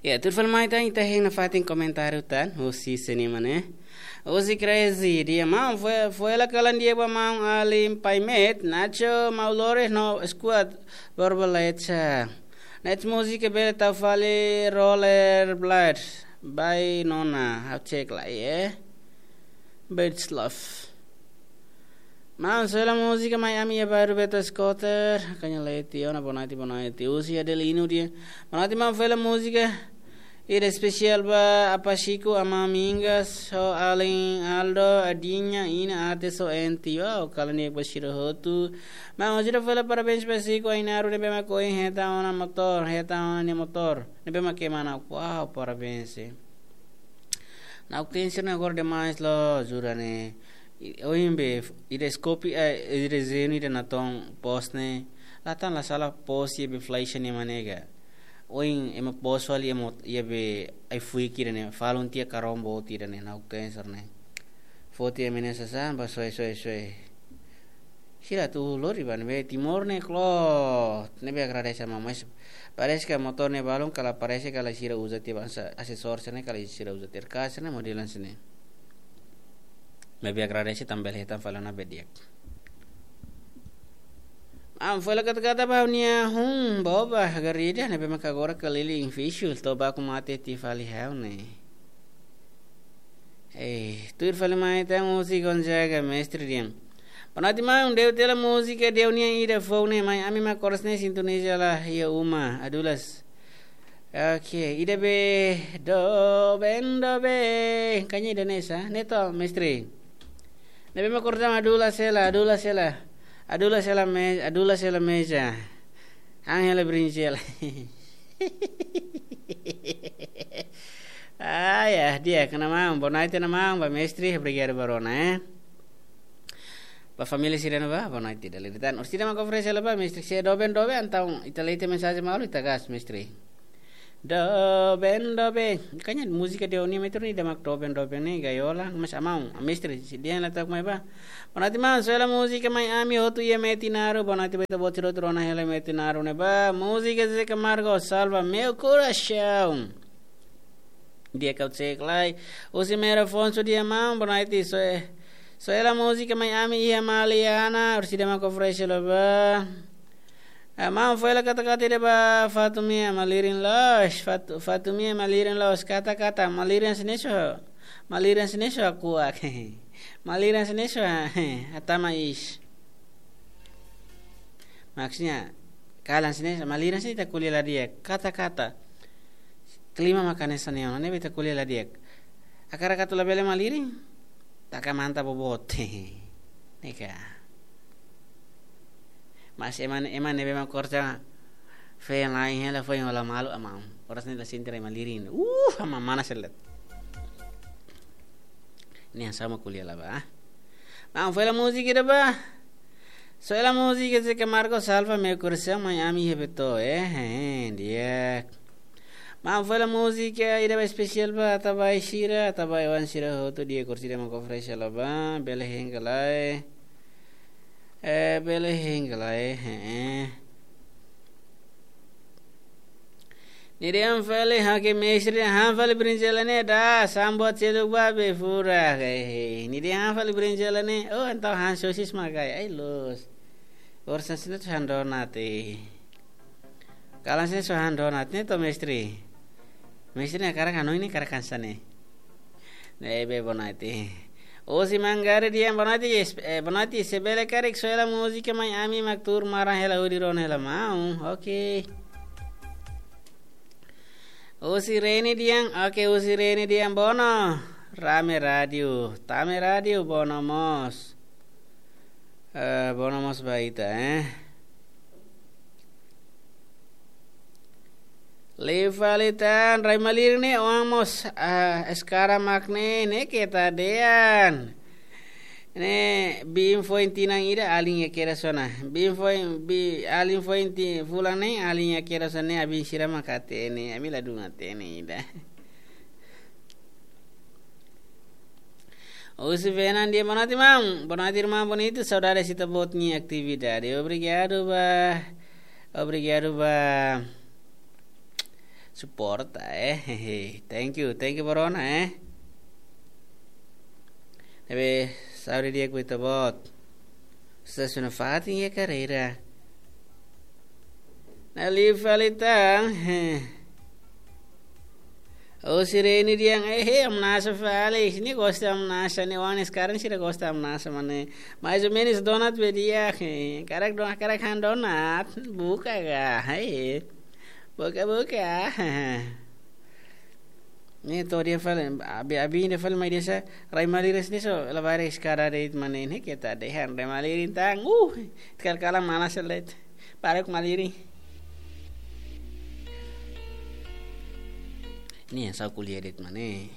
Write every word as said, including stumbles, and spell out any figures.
Ya, tuir fali mai tan ita hein nafatin komentáriu tan, husi sini mane. Husi Crazy, dehan maun, foin, foin hela kalan di'ak ba maun alin Pai Met, Nacho, mau lores no squad, borboleta. Net música bele tau fali Roller Blade, by Nona, ha'u cek lai, eh. Birds Love. Maun, foin hela música mai ami iha bairru Beto Scooter. Kaña Leti, ona boa noite, boa noite. Husi Adelino dehan. Boa noite, maun, foin hela música. Ida espesiál ba Apa Chico, Ama Mingas, ho alin Aldo, Adinha, Ina, Ate, so enti. Wow, kalan di'ak ba sira hotu. Maun, sira foin hela parabéns ba Chico, Ainaru, ne'ebé mak ohin hetan ona motór, hetan ona nia motór. Ne'ebé mak kemana. Wow, parabéns, eh. Na'ok-teen sira-ne'e agora demais loos, jura ne'e. I, ohin be, ida scope, eh, ida zenu ida natoon post ne'e. La tan la sala post iha be flecha ne'e manega. Ohin ema post fali ema iha be ai-fuik ida ne'e. Falun tiha karombo tiha ida ne'e, na'ok-teen sira-ne'e. Foti ema ne'e sasán, ba soe, soe, soe. Sira atu lori ba ne'ebé Timor ne'e kloot. Ne'ebé agradese maun, mas parese ke motór ne'e balun kala parese kala sira uza tiha ba sa-, asesór sira-ne'e kala sira uza tiha, ka sira-ne'e model sira-ne'e. Ne'ebé agradese tan bele hetan fali ona be di'ak. Maun, foin hela kata-kata ba nia hun boba garida ne'ebé maka agora keliling fisu toba ku mate ti fali hau ne'e. Eh, tuir fali mai tan husi Gonzaga, mestre dehan. Boa noite, maun, de'it hela música, de'it nian ida foun ne'e, mai ami mak koras ne'e sintoniza lai iha uma, Adulas. Ok, ida be, doben, doben. Kaña ida ne'e sá, ne'e to, mestre. Ne'ebé mak koras Adulas hela, Adulas hela. Adulas hela me-, Adulas hela meja. Ángela Brinjela. Ah, ya, di'ak, maun, boa noite, maun, ba mestre, obrigadu ba rona, eh. Ba família sira-ne'e ba, boa noite, dala ida tan. Orsida mak oferese hela ba, mestre, se doben, doben, entaun, ita lee tiha mensajen malu, ita gas, mestre. Doben, doben. Kaña música de Oni, metro ni da mak doben, doben ne'e, gaiola, mas maun, mestre, se dehan la to'o mai ba. Boa noite, maun, foin hela música mai ami hotu iha Metinaro. Boa noite ba ita-boot sira hotu rona hela Metinaro ne'e ba. Música Zé Camargo, Salva Meu Coração. Di'ak, ha'u cek lai. Husi Mero Afonso dehan maun, boa noite, foin, foin hela música mai ami iha Maliana. Orsida mak oferese hela ba. Ah, maun, foin hela kata-kata ida ba Fatumia, malirin loos, Fatu-, Fatumia, malirin loos, kata-kata, malirin sini so, malirin sini so aku ak. Malirin sini so, ah, eh, atama is. Maksudnya, kalan sini, malirin sini ita ko'alia la di'ak, kata-kata. Klima maka hanesan ne'e ona, ne'ebé ita ko'alia la di'ak. Hakarak atu labele malirin, taka manta boboot. Ne'e ka. Mas ema, ema ne'ebé mak koras feen lain hela foin hola malu, maun. Koras ne'e la sente rai malirin. Uh, ama mana selet. Ne'e hanesan mak ko'alia la ba. Maun, foin hela música ida ba. Foin hela música Zé Camargo, Salva Meu Coração, mai ami iha Beto, eh, eh, di'ak. Maun, foin hela música ida ba espesiál ba atabai sira, atabai oan sira hotu, di'ak, orsida mak oferese hela ba, bele hein ka lae. Eh, bele hein ka lae, eh, eh. Nia dehan fali, ha'u ke mestre, han fali brinjela ne'e da, sambuat seluk ba be furak, eh. Nia dehan han fali brinjela ne'e, oh, entaun han sosis mak ai, ai loos. Orsida sini atu han donat, eh. Kalan sini so han donat ne'e to, mestre. Mestre ne'e hakarak hanoin ne'e hakarak hanesan ne'e. Ne'ebé boa noite. Husi Mangaree dehan boa noite, es-, eh, boa noite, se bele karik foin hela música mai ami mak tuur maran hela hodi rona hela maun. Ok. Husi Reni dehan, ok, husi Reni dehan bono. Rame rádiu, tame rádiu, bono mós. Eh, bono mós ba ita, eh. Liu fali tan, rai malirin ne'e oan mós, ah, eskara mak ne'e, ne'e keta dehan. Ne'e biin foin tinan ida alin iha kedas ona. Biin foin, bi-, alin foin ti-, fulan ne'e alin iha kedas ona ne'e, abin sira mak hatene, ami ladún hatene ida. Husi Fernandia, boa noite, irmão. Boa noite, irmão bonito. Saudades ita-boot nia atividade. Obrigadu ba, obrigadu ba suporta, eh. Thank you, thank you, Borona, eh. Ne'ebé, saúde di'ak ba ita-boot. Susesu nafatin iha karreira. Ne'e liu fali tan, eh. Oh, Sirene dehan, eh, eh, hamnasa fali. Nia gosta hamnasa, nia oan sekarang sira gosta hamnasa, mane. Mais ou menus donat be di'ak, eh. Karik don-, karik han donat, buka ka, eh. Buka, buka. Ne'e to'o dehan fali, abi, abi dehan fali mai dehan sá, rai malirin sini so, labarik eskada de'it mane ne'e keta dehan, rai malirin tan, uh, kal-kalan mana selet, parek malirin. Ne'e sá ko'alia de'it mane.